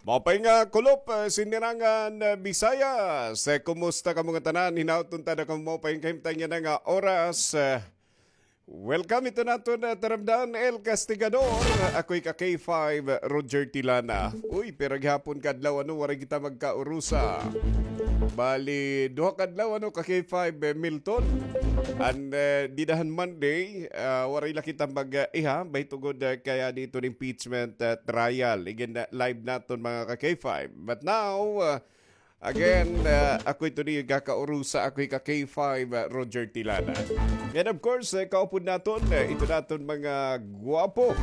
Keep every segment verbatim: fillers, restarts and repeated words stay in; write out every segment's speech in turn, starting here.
Maupay nga kulop, eh, Sinirangan, eh, Visayas. Eh, kumusta kamo ngatanan? Hinaot unta na kamo maupay nga kahimtang yana nga oras. Eh, welcome ito naton, eh, taramdan, El Castigador. Ako ika K five, Roger Tilana. Uy, pira gihapon ka adlaw, ano, waray kita magkaurusa. Bali, duha ka adlaw, ano, ka K five, eh, Milton. And, eh, dida han Monday, ah, waray la kita mag, eh, iha, bay tungod, eh, kay adi iton impeachment, eh, trial. Igin, eh, live naton, mga ka K five. But now, ah, again, ah, ako ito ni kakaurusa, ako ika K five, ah, Roger Tilana. And of course, eh, kaupod naton, eh, ito naton mga gwapo.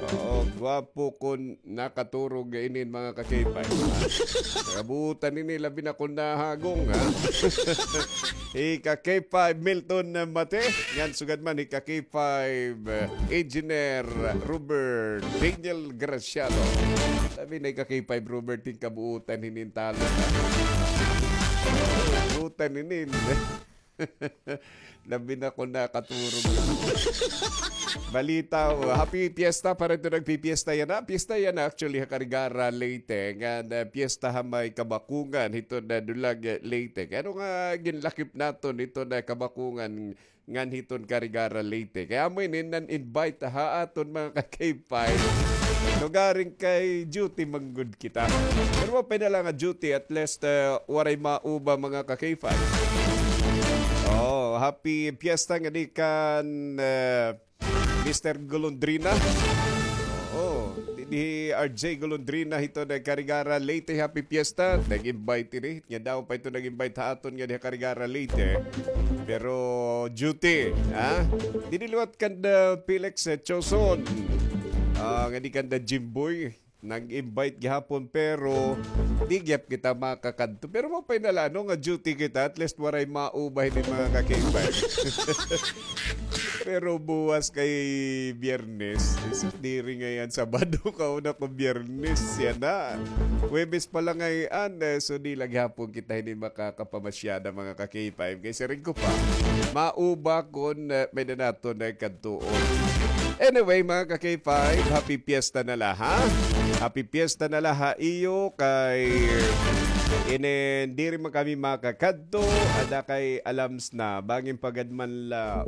Oo, gwapo kon nakaturog inin mga ka K five. Kabuutan ini, labi na kon nahagong, ha? Ika K five Milton Mate, ngan sugad man ika K five, eh, Engineer Robert Daniel Graciado. Labi na ika K five Robert, hin kabuutan hinin talon, ha? Kabuutan hinin. Labi na kon nakaturog. Balita, oh, happy fiesta para ito nagpipiesta yana. Fiesta yana actually ha Carigara, Leyte. Ngan, eh, fiesta ha may Kabakungan, hito na Dulag, eh, Leyte. Kay ano nga ginlakip naton hito na Kabakungan ngan hiton Carigara, Leyte. Kay amo ini nan-invite ha aton mga ka K five. Lugaring kay duty man gud kita. Pero maupay na la nga duty, at least, eh, waray mauba mga ka K five. Oh, happy fiesta ngadi kan, eh, Mister Golondrina. Oo, dinhi R J Golondrina hito na Carigara, Leyte, happy fiesta. Nag-invite ini. Nga daw pa ito nag-invite ha aton nga diha Carigara, Leyte. Pero duty, ha? Didi liwat kanda Felix, eh, Choson. Ah, ngadi kanda Jimboy. Nag-invite gihapon, pero di gyap kita makakadto. Pero maupay na la, no, nga duty kita, at least waray mauba hini mga ka K five. Pero buwas kay Biyernes, isus, diri ngay-an Sabado, kauna ko Biyernes, yana. Huwebes pa la ngay-an, eh, so di la gihapon kita hini makakapamasyada, mga ka K five. Kay siring ko pa, mauba kon, eh, may-ada naton, eh, kadtuon. Anyway, mga ka K five, happy fiesta na la, ha? Happy fiesta na la ha iyo kay inin diri man kami makakadto, ada kay alams na, bangin pagad man la.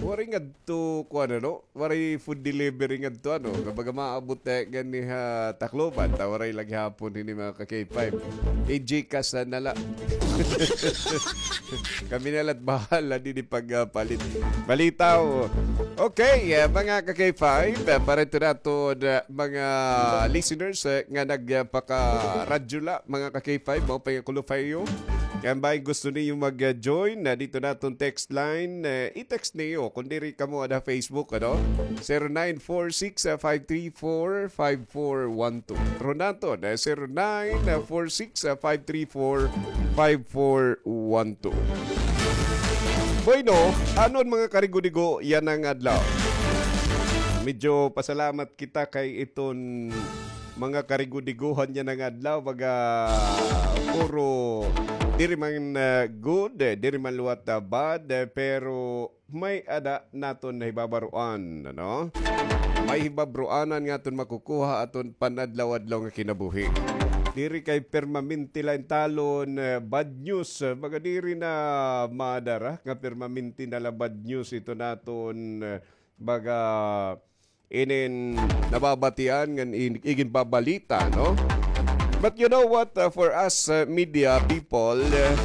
Waray ngadto, kuan, ano? Waray food delivery ngadto, ano? Kumbaga maabot, eh, gani ha Tacloban, ta waray la gihapon hini mga ka K five. I-Gcash na la. Kami na la't bahala didi pagpalit. Balita, oh. Okay, eh, mga ka K five, eh, para ito naton, eh, mga listeners, eh, nga nagpakaradyo la, mga ka K five, maupay nga kulop ha iyo. Kay bangin gusto niyo mag-join, eh, dito naton text line, eh, i-text niyo. Kon diri kamo ada Facebook, ano? Zero nine four six, ah, five three four, five four one two. Ron naton, eh, zero nine four six, ah, five three four, five four one two. Bueno, ano an mga karigo-digo yana nga adlaw? Medyo pasalamat kita kay iton mga karigo-digohan yana nga adlaw, baga puro diri man, ah, good, eh, diri man liwat, ah, bad, eh, pero may-ada naton nahibabaroan, ano? May hibabroanan nga aton makukuha aton panadlaw-adlaw nga kinabuhi. Diri kay permanente la in talon, eh, bad news, eh, baga diri na madara nga permanente na la bad news ito naton, eh, baga inin nababatian ngan in-, iginbabalita, no? But you know what, uh, for us, uh, media people, uh,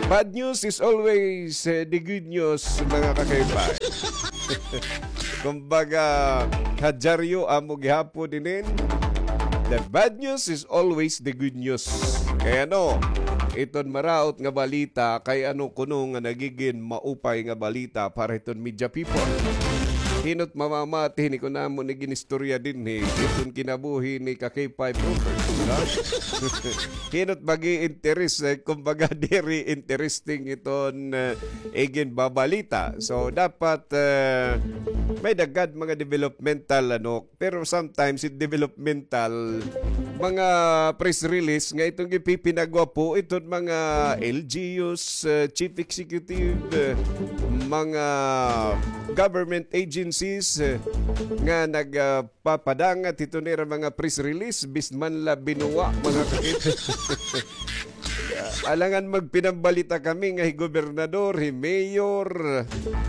bad news is always, uh, the good news, mga ka-K five. Kumbaga, ha dyaryo amo gihapon inin, the bad news is always the good news. Kay ano, iton maraot nga balita, kay ano kuno nga nagigin maupay nga balita para hiton media people. Hino't mamamati hini kon amo ni ginistorya dinhi, hiton kinabuhi ni ka K five Rovers, no? Hino't mag-i-interes, eh, kumbaga, diri interesting iton, eh, iginbabalita. So, dapat, eh, may-ada gad mga developmental, ano, pero sometimes it developmental, mga press release nga iton gipipinagwapo iton mga L G Us, eh, chief executive, eh, mga government agencies, eh, nga nag, ah, papadangat hiton ira mga press release, bisan man la binuwa, mga kakita. Alangan magpinambalita kami nga hi gobernador, hi mayor,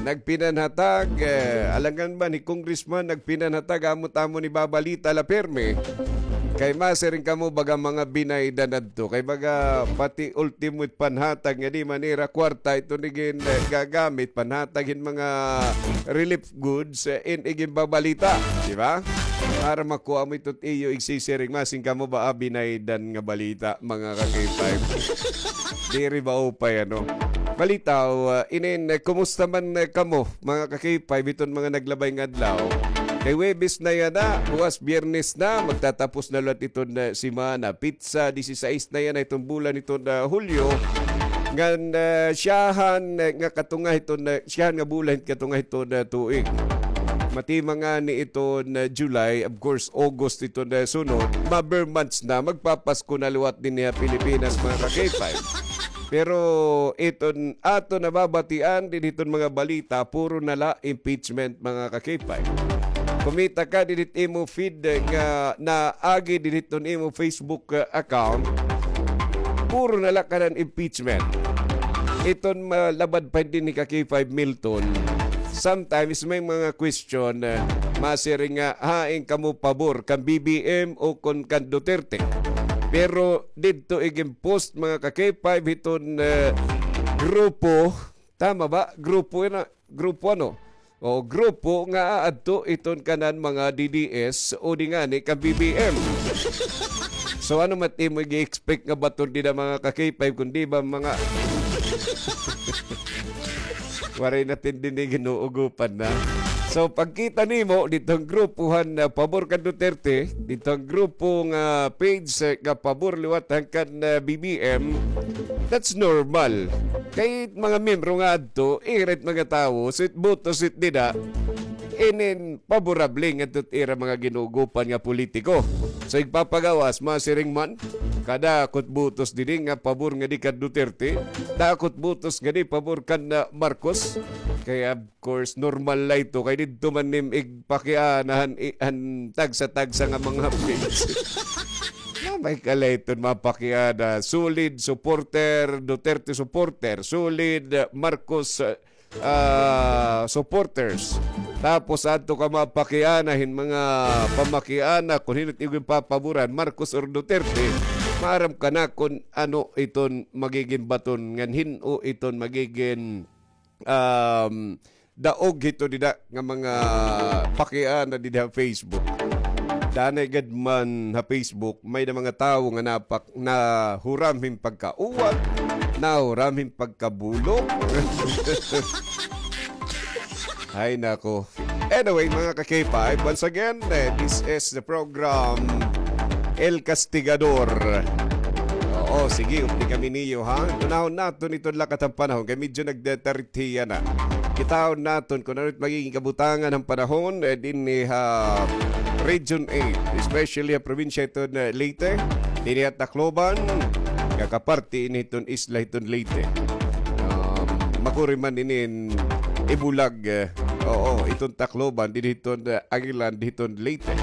nagpinanhatag, eh, alangan man hi congressman, nagpinanhatag, amo it amon ibabalita la pirmi. Kay masiring kamo baga mga binaydan adto. Kay baga pati ultimo it panhatag nga di man ira kwarta, ito ni gin, eh, gagamit, panhatag hin mga relief goods, eh, in iginbabalita, di ba? Para makuha mo ito't iyo igsisiring, masiring kamo ba, ah, binaydan nga balita, mga ka-K five. Diri ba upay, ano? Balitaw, ah, inin, eh, kumusta man, eh, kamo, mga ka-K five, iton mga naglabay nga adlaw? Kay Huwebes na yana, buwas Biyernes na, magtatapos na liwat iton, eh, semana. Pitsa disisais na yana iton bulan iton, ah, Hulyo. Ngan, ah, siyahan, eh, nga katunga iton, ah, siyahan nga bulan katunga iton, ah, tuig. Matima ngani iton, ah, July, of course, August iton, ah, sunod. Ma-ber months na, magpapasko na liwat dinhi ha Pilipinas, mga ka-K five. Pero iton aton nababatian dinhi hiton mga balita, puro na la impeachment, mga ka-K five. Kumita ka dinhi hit imo feed, eh, nga naagi dinhi hiton imo Facebook, eh, account, puro na la kanan impeachment. Iton malabad pa dinhi ka-K five Milton, sometimes may mga question, eh, masiring nga, hain kamo pabor, kan B B M o kon kan Duterte? Pero didto igin-post, mga ka-K five, hiton, eh, grupo, tama ba? Grupo yana, grupo ano? O, grupo nga aadto iton kanan mga D D S o di ngani kan B B M. So, ano man it imo ig-expect nga baton dida, mga ka-K five, kundi ba mga waray na tindi ni ginuugupan na. So, pagkita nimo, didto han grupo han, ah, pabor kan Duterte, didto han grupo nga page, eh, nga pabor liwat han kan, ah, B B M, that's normal. Kay mga miyembro nga adto, ira it mga tawo, so it botos it dida, inin paborable ngadto it ira mga ginuugupan nga politiko. So, igpapagawas, masiring man, kadako it botos didi nga pabor ngadi kan Duterte, dako it botos ngadi pabor kan, ah, Marcos. Kay, of course, normal la ito. Kay didto man nim igpakiana han, i-, han tagsa-tagsa nga mga page. Nga may kala iton mapakiana, solid supporter, Duterte supporter, solid, ah, Marcos, ah, ah, supporters. Tapos adto ka mapakiana hin mga pamakiana kon hin-o it iyo ginpapaboran, Marcos or Duterte, maaram ka na kon ano iton magigin baton ngan hin-o iton magigin, um, daog hito dida nga mga pakiana dida ha Facebook. Danay gad man ha Facebook, may-ada mga tawo nga napak-, nahuram hin pagkauwat, nahuram hin pagkabulok. Ay, nako. Anyway, mga ka-K five, once again, eh, this is the program El Castigador. Oo, sige, updi kami niyo, ha? Tunahon naton iton lakat han panahon, kay medyo nagdetarithi yana. Kitahon naton kon ano it magigin kabutangan han panahon, eh, dinhi ha Region eight, especially ha probinsya iton, eh, Leyte, dinhi ha Tacloban, nga kaparti ini hiton isla hiton Leyte. Um, makuri man inin ibulag, eh, oo, iton Tacloban, dinhi hiton, eh, Aguilan, dinhi hiton Leyte.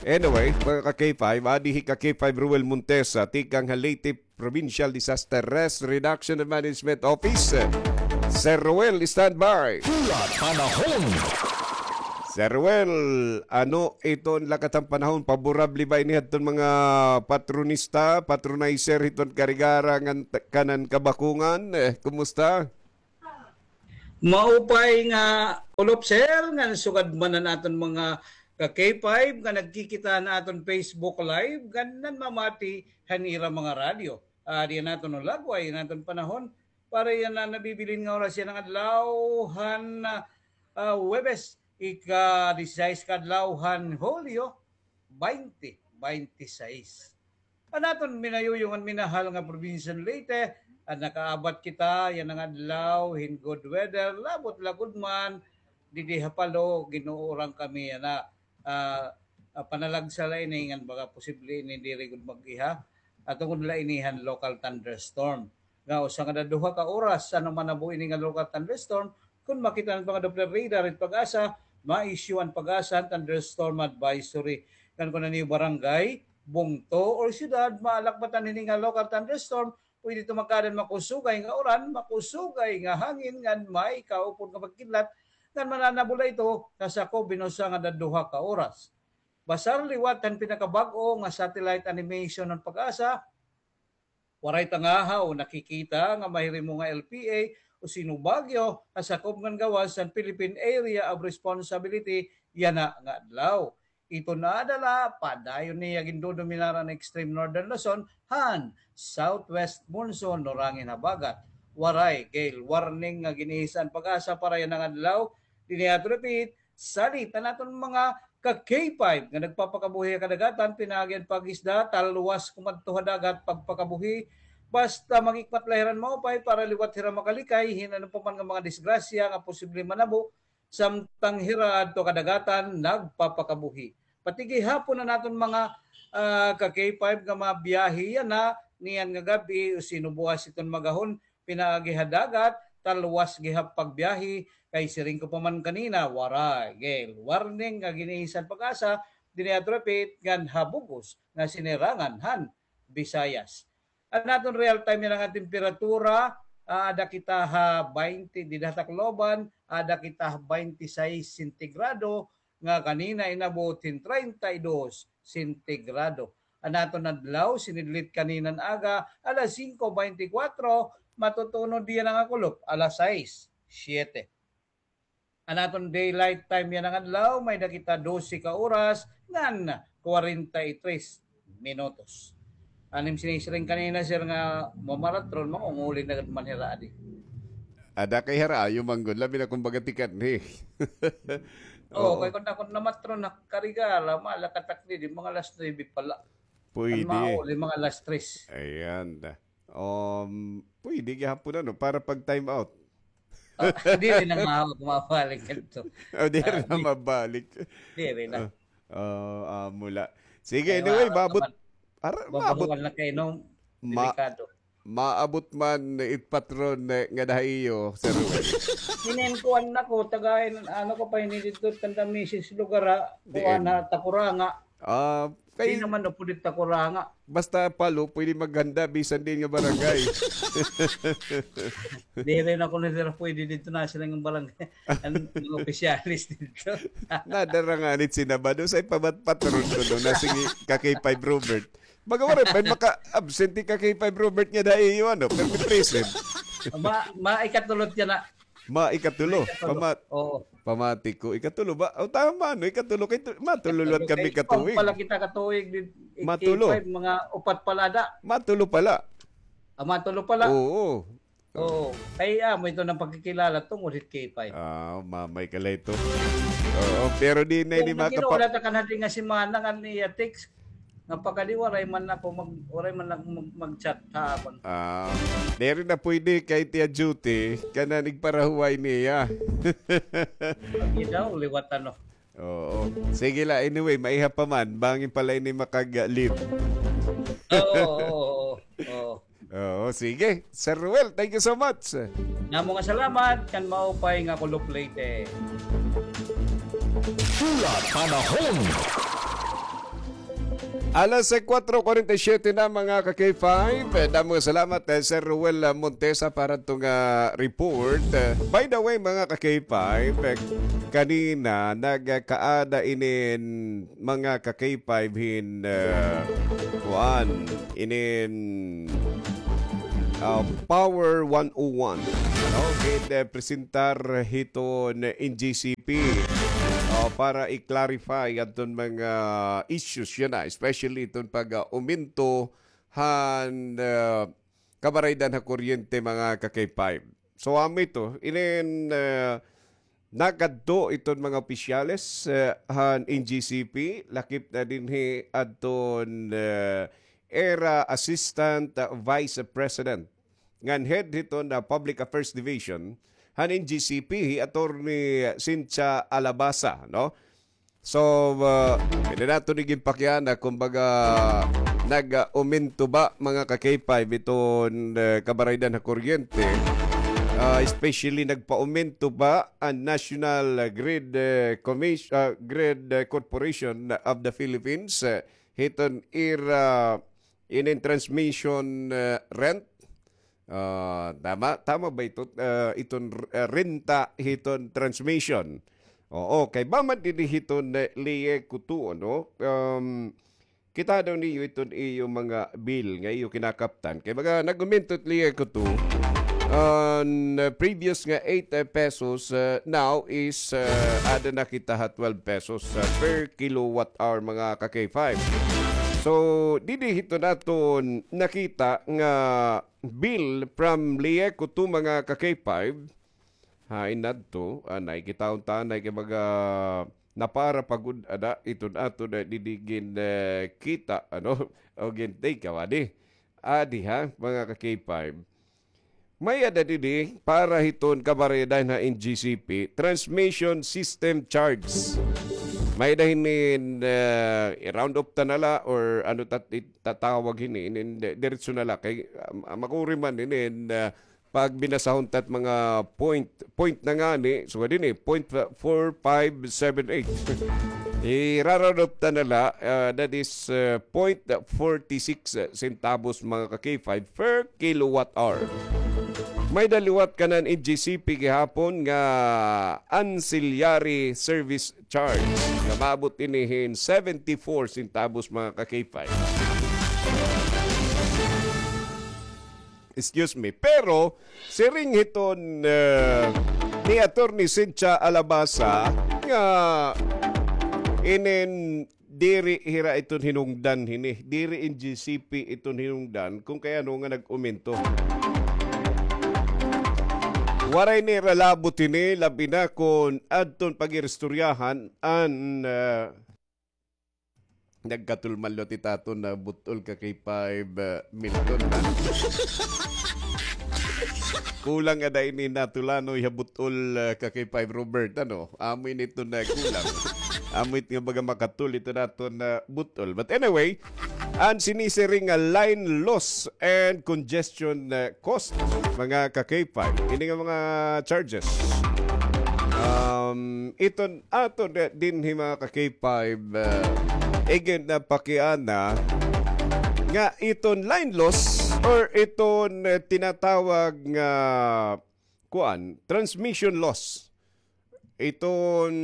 Anyway, mga ka-K five, adi hi ka-K five Ruel Montesa, tikang ha Leyte Provincial Disaster Risk Reduction and Management Office. Sir Ruel, standby. Hulat panahon. Sir Ruel, ano iton lakat han panahon? Paborable ba ini hadton mga patronista, patronizer hiton Carigara ngan t-, kanan Kabakungan? Eh, kumusta? Maupay nga ulop, sir, ngan sugad man an aton mga ka-K five nga nagkikita han aton Facebook Live, ngan nanmamati han ira mga radyo. Ah, diyan naton lagway, an aton panahon, para yana nabibilin nga oras yana nga adlaw han, ah, ah, Huwebes, ika-disisais ka adlaw han Hulyo, baynte baynte sais. An aton minayuyong ngan minahal nga probinsya han Leyte, an nakaabat kita yana nga adlaw hin good weather, labot la gud man didi ha Palo, ginuuran kami yana, ah, ah, panalagsa la ini ngan baga posible ini diri gud mag-iha, ah, tungod la ini han local thunderstorm. Nga usa ngada duha ka oras, ano man nabo ini nga local thunderstorm, Kon makita an mga Doppler radar it PAGASA, ma-issue an PAGASA an thunderstorm advisory. Ngan kon an iyo barangay, bungto, or syudad, maalakbatan hini nga local thunderstorm, pwede ito magkaada hin makusugay nga uran, makusugay nga hangin, ngan may kaupod nga pagkidlat, ngan mananabula ito ha sakob hin usa ngan duha ka oras. Basar liwat han pinakabag-o nga satellite animation han PAGASA, waray tangahaw nakikita nga mahirimo nga L P A o sino bagyo ha sakob ngan gawas han Philippine Area of Responsibility yana nga adlaw. Ito nga adlaw, padayon niya gindodominar an extreme northern Luzon han southwest monsoon, norangin habagat. Waray gale warning nga gin-ihis an PAGASA para yana nga adlaw. Dinhi ato repeat, salit an aton mga ka-K five nga nagpapakabuhi ha kadagatan, pinaagi han pag-isda, talwas kumadto ha dagat, pagpakabuhi. Basta mag-ikmat la hira hin maupay para liwat hira makalikay hin ano pa man nga mga disgrasya nga posible manabo samtang hira adto kadagatan nagpapakabuhi. Pati gihapon an aton mga, ah, ka-K five nga mabiyahe yana niyan nga gab-i o sino buwas iton magahon pinaagi ha dagat, talwas gihap pagbiyahe, kay siring ko pa man kanina, waray gale warning nga gin-ihis an PAGASA dinhi ha Tripit ngan ha bug-os nga sinirangan han Visayas. An aton real time yana nga temperatura, ah, aada kita ha baynte dida ha Tacloban, aada kita ha baynte sais sentigrado, nga kanina inabot hin treinta y dos sentigrado. An aton adlaw, sinidlit kanina nga aga, alas singko baynte kwatro, matutunod yana nga kulop, alas sais, siyete. An aton daylight time yana nga adlaw, may-ada kita dose ka oras ngan kwarenta y tres minutos. An im sinisiring kanina, sir, nga mamaratron, mangunguli na gad man hira adi. Ada kay hira, ayo man gud, labi na kon baga tikadto, eh. Oo, oo, kay kon ako namatron ha Carigala, mala katakdi, di mga alas nuebe pa la. Pwede. An mauli, mga alas tres. Ayan. Um, pwede gihapon, ano, para pag time out. Ah, diri na nga ako mabalik kadto. Oh, diri na mabalik. Diri na. Ah, ah, mula. Sige, anyway, maabot. Ara, maabot. Bawal na kay no, ma-, delikado. Maabot man it patron nga, nga da ha iyo, Sir Ruel. Hinin kuan na ko, tagay, ano ko pa, hinin didto, kanda misis lugar ha, kuan ha, Takuranga. Ah, kay di naman na pwede Takuranga. Basta palo, pwede maghanda, bisan diin nga barangay. Diri na kuno sila pwede didto, na sila nga barangay. An mga opisyalis didto. Nadara nga nit sinabado, sa ipabat-, patron ko doon, na sige, ka K five Robert. Baga waray pa maka-absent ka K five Robert nga da ha iyo, ano, permi present. Ma-, maikatulot yana. Maikatulo. Maikatulo. Pama-, oo. Pamati ko, ikatulo ba? O, tama, no? Ikatulo. Kay tu-, matulo liwat kami katuig. Pala kita katuig, di, matulo. K five, mga upat pala da. Matulo pala. Ah, matulo pala. Oo. Oo. Kay, ah, amo ito nga pagkikilala tungod hit K five. Ah, mamay ka la ito. Oo, pero di na ini makapa- Nagkita kita kan hadi nga semana nga niya text. Nga pagkadi waray man ako mag-, waray man ako mag-, mag-chat ha akon. Ah, diri na pwede kay Tia Judy, kanan igparahuway niya. Pag daw, liwat ano. Oo. Sige la, anyway, maiha pa man, bangin pa la ini makag-leave. Oo, oo, oo, oo. Oo, sige. Sir Ruel, thank you so much. Namo nga salamat, kan maupay nga kulop Leyte. Pula Panahon. Alas kwatro kwarenta y siyete na, mga ka K five. Eh, damo nga salamat, eh, Sir Ruel, ah, Montesa, para to nga report. Eh, by the way, mga ka K five, eh, kanina, nagkaada inin mga ka K five hin, ah, kuan, inin, ah, Power one oh one. Ano? Gin, eh, presentar hiton N G C P, ah, para i-clarify adton mga issues yana, especially iton pag, ah, umento han, ah, kabaraydan ha kuryente, mga ka K five. So, amo ito, inin, ah, nakadto iton mga opisyales, ah, han N G C P, lakip na dinhi adton, ah, ira Assistant, ah, Vice President ngan head hiton, ah, Public Affairs Division han N G C P, hi Attorney Cynthia Alabasa, no? So, ah, pwede naton iginpakiana, kumbaga, nag-umento ba, mga ka K five, iton, ah, kabaraydan ha kuryente, Ah, especially nagpaumento pa an National Grid, eh, Commis-, ah, Grid, eh, Corporation of the Philippines, eh, hiton ira inin transmission, eh, rent. Ah, tama, tama ba ito, ah, iton, ah, renta hiton transmission? Oo, kay ba man dinhi hiton, eh, Lie Kutu, no? Um, kita daw niyo iton iyo mga bill nga iyo kinakaptan. Kay baga nag-umento it Lie Kutu, an, uh, previous nga eight, uh, pesos, uh, now is, uh, ada na kita ha twelve pesos, uh, per kilowatt hour, mga ka-K five. So, didi hiton aton nakita nga bill from Lie Kutu, mga ka-K five. Hain adto, anay, kitaon ta anay kay baga napara pa gud ada iton aton, eh, didi gin, eh, kita, ano, o gin take, adi. Adi ha, mga ka-K five. May-ada didi para hiton kabaryadan ha N G C P, transmission system charge. May-ada hinin, eh, i-round off ta na la or ano tat-, tatawag hini, inin, di-, diretso na la kay, ah, makuri man hinin, eh, pag binasahon tat mga point, point na ngani, so dinhi, point four five seven eight. I-round off ta na la, ah, that is, ah, point forty six centavos, mga ka-K five, per kilowatt hour. May-ada liwat kanan N G C P gihapon nga ancillary service charge nga maabot ini hin seventy four centavos, mga ka-K five. Excuse me. Pero, siring hiton, eh, ni Attorney Cynthia Alabasa nga inin diri hira iton hinungdan hini. Diri N G C P iton hinungdan kung kay ano nga nag-umento. Waray nira labot hini, labi na kon adton pag-iristoryahan an, eh, nagkatulman liwat it aton nga but-ol, ka-K five, ah, Milton, ha? Kulang ada ini natulanoy ha but-ol, ah, ka-K five Robert, ano? Amo ini iton nga kulang. Amo it nga baga makatul iton aton nga but-ol. But anyway, an sinisiring nga line loss and congestion, ah, cost, mga ka-K five. Ini nga mga charges. Um, iton aton dinhi, mga ka-K five, ah, again, napakiana nga iton line loss or iton, eh, tinatawag nga, kuan, transmission loss. Iton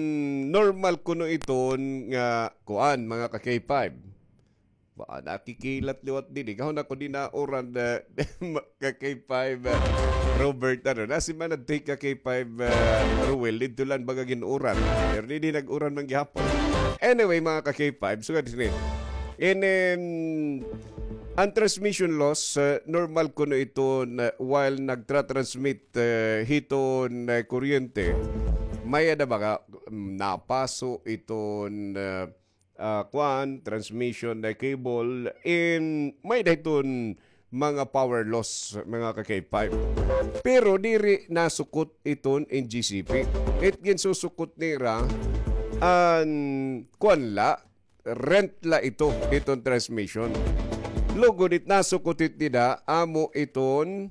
normal kuno iton nga, kuan, mga ka-K five. Ba, nakikilat liwat didi. Kahon ako dinauran, eh, ka-K five, eh, Robert, ano, nasimanad ti ka-K five, eh, Ruel, didto lang baga gin-uran. Pero didi nag-uran man gihapon. Anyway, mga ka-K five, sugad sini. In, em, an transmission loss, eh, normal kuno iton, eh, while nagtra-transmit, eh, hiton, eh, kuryente. May-ada baga, mm, napaso iton, eh, ah, kuan, transmission na cable, in may-ada hiton mga power loss, mga ka-K five. Pero diri nasukot iton N G C P. It ginsusukot nira, an kuan la, rent la ito, iton transmission. Lugod it nasukot it nira, amo iton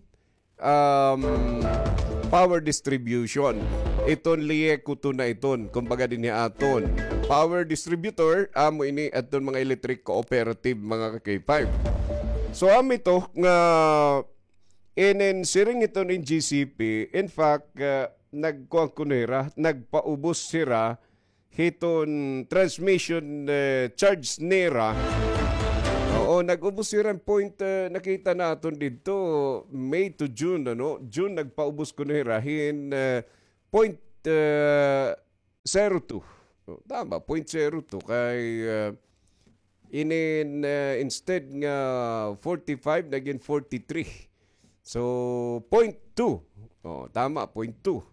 um, power distribution. Iton Liekuto na iton, kumbaga dinhi aton. Power distributor, amo ini adton mga electric cooperative, mga ka-K five. So, amo ito nga inin siring iton in G C P, in fact, ah, nagkuan kuno hira, nagpaubos hira hiton transmission, eh, charge nira. Oo, nag-ubos hira hin point, eh, nakita naton didto, May to June, ano? June, nagpaubos kuno hira hin, eh, point, eh, zero two. Oh, tama, point zero two. Kay, eh, inin, eh, instead nga forty-five, nagin forty-three. So, point two. Oh, tama, point two.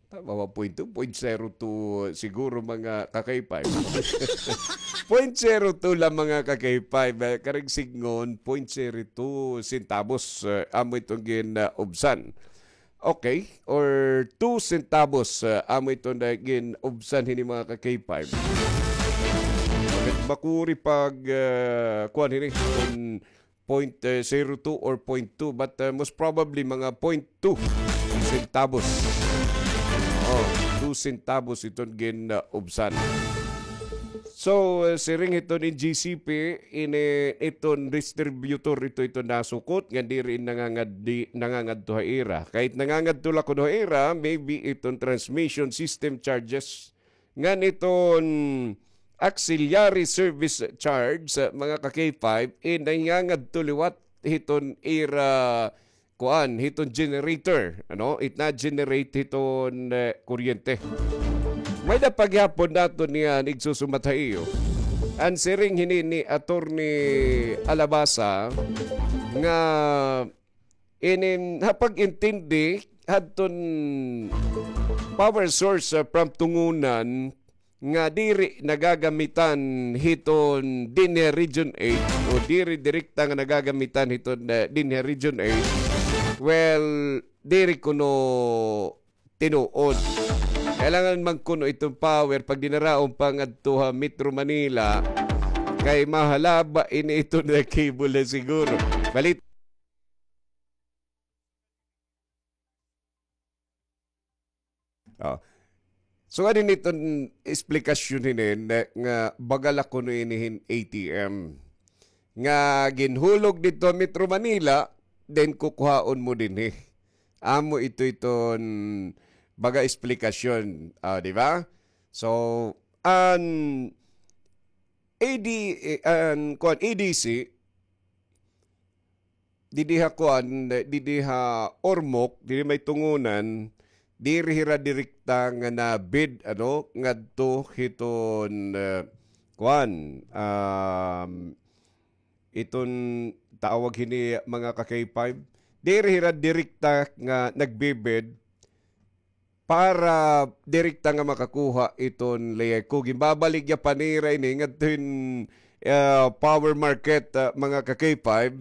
Tama ba, point two? Point zero two siguro, mga ka-K five. Point zero two la, mga ka-K five. Eh, karing sidngon, point zero two centavos, eh, amo iton gin, ah, ubsan. Okay, or two centavos, ah, amo iton, ah, gin ubsan hini, mga ka-K five. Bakit makuri pag, ah, kuan hini, kun point zero two or point two, but, uh, most probably mga point two centavos. Oh, two centavos iton gin, uh, ubsan. So, uh, siring hiton N G C P, ini iton distributor ito, ito nasukot nga diri nangangad-, di, nangangadto ha ira. Kahit nangangadto la kuno ha ira, maybe iton transmission system charges ngan iton auxiliary service charge, uh, mga ka-K five, eh, nangangadto liwat hiton ira, kuan, hiton generator, ano? It na-generate hiton, eh, kuryente. May-ada pa gihapon naton niyan igsusumat ha iyo. An siring hini ni Attorney Alabasa nga inin ha pag-intindi hadton power source, uh, from Tungunan nga diri nagagamitan hiton dinhi Region eight o diri direkta nga nagagamitan hiton, uh, dinhi Region eight. Well, diri kuno tinuod. Kailangan man kuno iton power pagdinaraon pa ngadto ha Metro Manila kay mahalaba ini iton cable siguro. Balit Oh. So, ano niton eksplikasyon hinin nga baga la kuno ini hin A T M nga ginhulog didto ha Metro Manila, then kukuhaon mo dinhi. Amo ito iton baga eksplikasyon, ah, di ba? So, an A D, eh, an, kuan, A D C, didi ha kuan, didi ha Ormoc, didi may Tungunan, diri hira direkta nga na-bid, ano, ngadto hiton, eh, kuan, um, iton tawag hini mga ka-K five, diri hira direkta nga nagbi-bid para direkta nga makakuha iton LECO. Ginbabaligya pa nira ini ngadto hin, ah, power market, ah, mga ka-K five.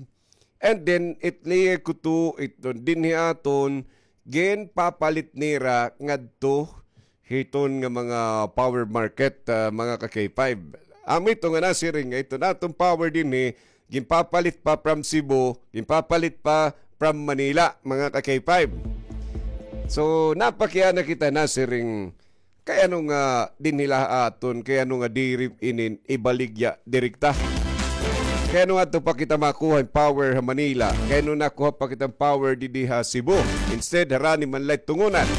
And then, it LECO to, iton dinhi aton, ginpapalit nira ngadto hiton nga mga power market, ah, mga ka-K five. Amo ito nga nasiring nga iton aton power dinhi, ginpapalit pa from Cebu, ginpapalit pa from Manila, mga ka-K five. So, napakiana kita nasiring, kay ano nga dinhi la ha aton, kay ano nga diri inin ibaligya direkta? Kay ano ngadto pa kita makuha hin power ha Manila? Kay ano nakuha pa kita hin power didi ha Cebu? Instead, harani man la it Tungunan.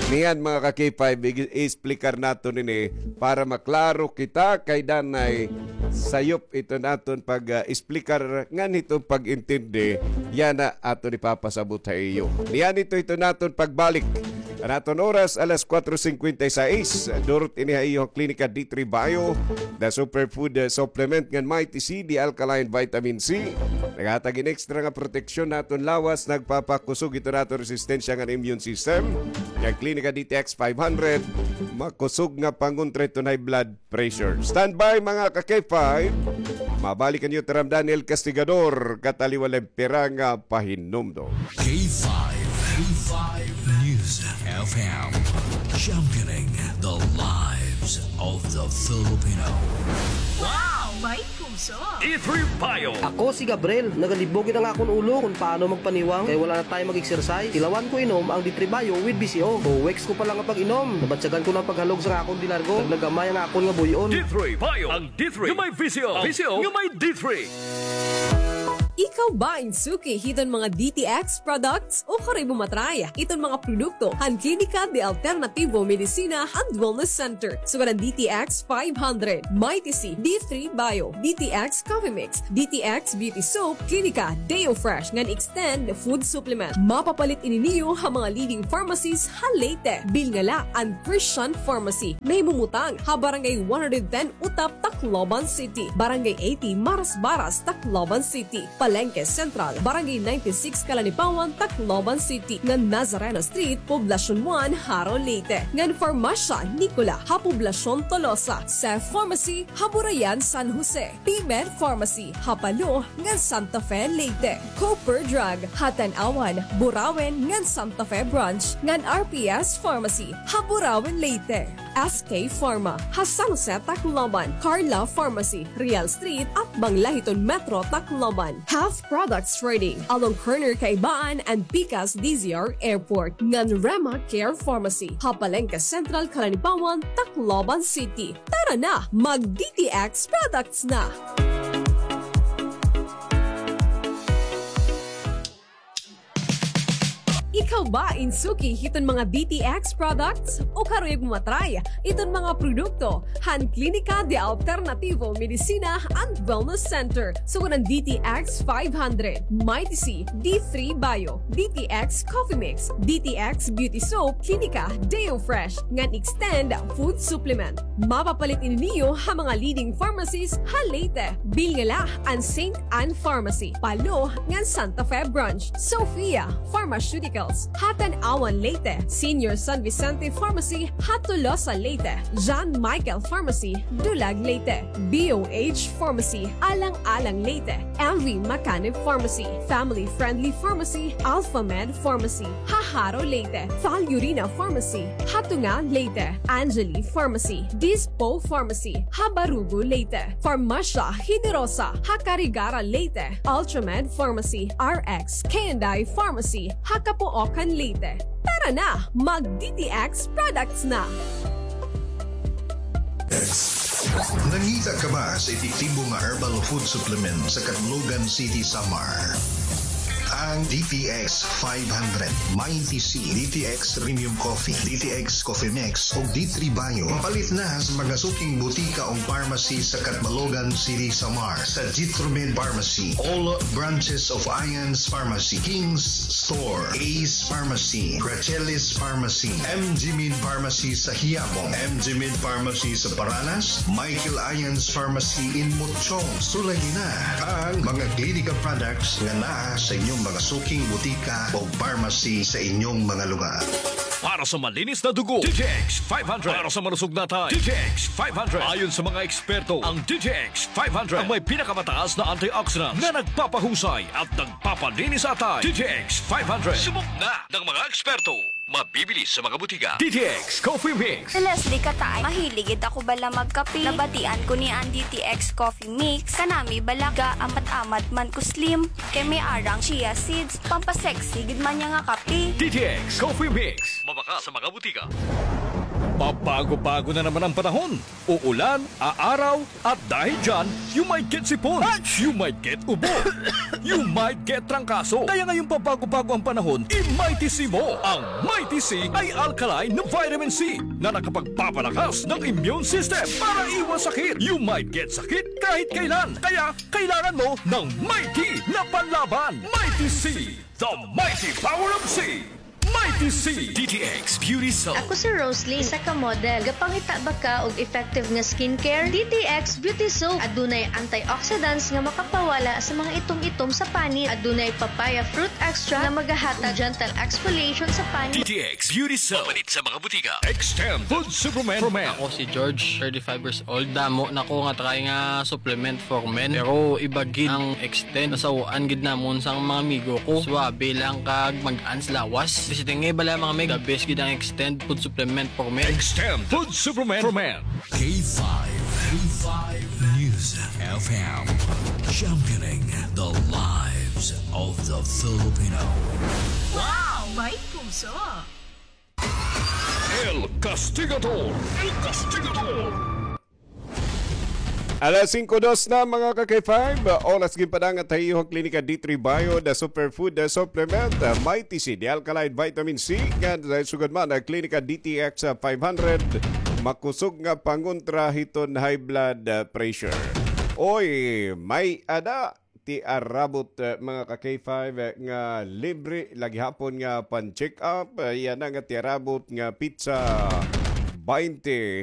Niyan, mga ka-K five, i-, i-explicar naton ini para maklaro kita kay danay sayop iton aton pag, ah, explicar ngan hiton pag-intindi, yana aton ipapasabot ha iyo. Niyan ito, ito naton pagbalik. An aton oras, alas kuwatro singkwenta y sais. Durot ini ha iyo an Klinika D three Bio, the superfood, uh, supplement ngan Mighty C, the alkaline vitamin C. Naghatag hin extra nga proteksyon ha aton lawas, nagpapakusog iton aton resistensya ngan immune system. An Klinika D T X five hundred, makusog nga pangontra hiton high blood pressure. Standby, mga ka-K five. Mabalik an iyo tiram Daniel Castigador, kataliwan la hin pira nga pahinumdom. K five, K five News F M, championing the lives of the Filipino. Wow! May puso! D three Bio. Ako si Gabriel. Nagalibog it ang akon ulo kon paano magpaniwang kay wala na tayo mag-exercise. Tilawan ko inom ang D three Bio with V C O. Two weeks ko pa lang nga pag-inom, nabatyagan ko na an paghalog sa akon dilargo. Nagnagamay ang akon nga buy-on. D three Bio, ang D three nga may V C O. V C O nga may D three. Ikaw ba in suki hiton mga D T X products? Ukari mo ma-try iton mga produkto han Klinika de Alternativo Medicina and Wellness Center. Sugad an D T X five hundred, Mighty C, D three Bio, D T X Coffee Mix, D T X Beauty Soap, Klinika Deo Fresh ngan Extend Food Supplement. Mapapalit ini niyo ha mga leading pharmacies ha Leyte. Bilnga la an Christian Pharmacy. Nahimumutang ha Barangay one hundred ten Utap, Tacloban City, Barangay eighty Marasbaras, Tacloban City, Palenque Central, Barangay ninety-six Calanipawan, Tacloban City, ngan Nazareno Street, Poblacion one, Jaro, Leyte, ngan Farmasya Nicola ha Poblacion Tolosa, Cef Pharmacy ha Burayan, San Jose, P-Med Pharmacy ha Palo ngan Santa Fe, Leyte, Cooper Drug ha Tanauan, Burauen ngan Santa Fe Branch, ngan R P S Pharmacy ha Burauen, Leyte, S K Pharma ha San Jose, Tacloban, Carla Pharmacy, Real Street, atbang la hiton Metro Tacloban. F Products Trading, along corner Kaibaan and Pikas D Z R Airport, ngan Rema Care Pharmacy, ha Palengke Central, Calanipawan, Tacloban City. Tara na, mag D T X products na! Ikaw ba in suki hiton mga D T X products? O karuyag mo ma-try iton mga produkto han Klinika de Alternativo Medicina and Wellness Center? Sugad an D T X five hundred, Mighty C, D three Bio, D T X Coffee Mix, D T X Beauty Soap, Klinika Deo Fresh, ngan Extend Food Supplement. Mapapalit ini niyo ha mga leading pharmacies ha Leyte. Bilngala an Saint Ann Pharmacy, Palo, ngan Santa Fe Branch. Sofia Pharmaceuticals, ha Tanauan, Leyte. Senior San Vicente Pharmacy, ha Tolosa, Leyte. John Michael Pharmacy, Dulag, Leyte. B O H Pharmacy, Alang-alang, Leyte. M V Macanib Pharmacy, Family Friendly Pharmacy, Alpha Med Pharmacy, ha Jaro, Leyte. Val Urina Pharmacy, ha Tunga, Leyte. Angeli Pharmacy, Dispo Pharmacy, ha Barugo, Leyte. Farmasya Generosa, ha Carigara, Leyte. Ultramed Pharmacy, R X K and I Pharmacy, ha Capoocan, Leyte. Tara na, mag D T X products na! Nangita ka ba sa epektibo nga herbal food supplement sa Catbalogan City, Samar? Ang D T X five hundred, Mighty C, D T X Premium Coffee, D T X Coffee Mix, ug D three Bio. Mapalit na sa mga suking butika o pharmacy sa Catbalogan City, Samar, sa Jitromed Pharmacy, all branches of Ian's Pharmacy, King's Store, Ace Pharmacy, Gracelis Pharmacy, M G Min Pharmacy sa Quiapo, M G Min Pharmacy sa Paranas, Michael Ian's Pharmacy in Mochong. Sulayi na ang mga Klinika products nga naa sa inyong mga suking butika o pharmacy sa inyong mga lugar. Para sa malinis na dugo, D T X five hundred. Para sa malusog na atay, D T X five hundred. Ayon sa mga eksperto, ang D T X five hundred ang may pinakamataas na antioxidants na nagpapahusay at nagpapalinis sa atay. D T X five hundred. Subok na ng mga eksperto. Mabibili sa mga butika. D T X Coffee Mix. Si Leslie Katay, mahilig gud ako bala magkape. Nabatian ko niya an D T X Coffee Mix. Kanami bala ga-amat-amat man ko slim. Kay may arang chia seeds. Pampasexy gud man niya nga kape. D T X Coffee Mix. Mabakal sa mga butika. Pabago-bago na naman ang panahon. Uulan, aaraw, at dahil dyan, you might get sipon, you might get ubo, you might get trangkaso. Kaya ngayong pabago-bago ang panahon, i-Mighty C mo. Ang Mighty C ay alkaline na vitamin C na nakapagpapalakas ng immune system para iwas sakit. You might get sakit kahit kailan. Kaya kailangan mo ng Mighty na panlaban. Mighty C, the mighty power of C. Mighty C. D T X Beauty Soap. Ako si Rosalie, isa ka model. Gapangita ba ka og effective nga skincare? D T X Beauty Soap. Adunay antioxidants nga makapawala sa mga itom-itom sa panit. Adunay papaya fruit extract nga magahatag gentle exfoliation sa panit. D T X Beauty Soap. Mapalit sa mga butika. Extend Food Supplement for Men. Ako si George, thirty-five years old. Damo na ko nga try nga supplement for men. Pero iba gid ang Extend. Nasaw-an gid namon sang mga amigo ko. Suabe lang kag mag-ans lawas. Basta nga bala mga meg, the best gid ang Extend food supplement for men. Extend food supplement for men. K five, K five News F M, championing the lives of the Filipino. Wow! May puso! El Castigador! El Castigador! Alas singko dos na, mga ka-K five. Oras ginpadangat ha iyo ha Klinika D three Bio, the superfood, the supplement, uh, Mighty C, the alkaline vitamin C, ngan, uh, sugad man, uh, Klinika D T X, uh, five hundred, makusog nga pangontra hiton high blood, uh, pressure. Oy, may-ada ti arabot, eh, mga ka-K five, eh, nga libre la gihapon nga pan-check up. Eh, yana nga ti arabot nga petsa baynte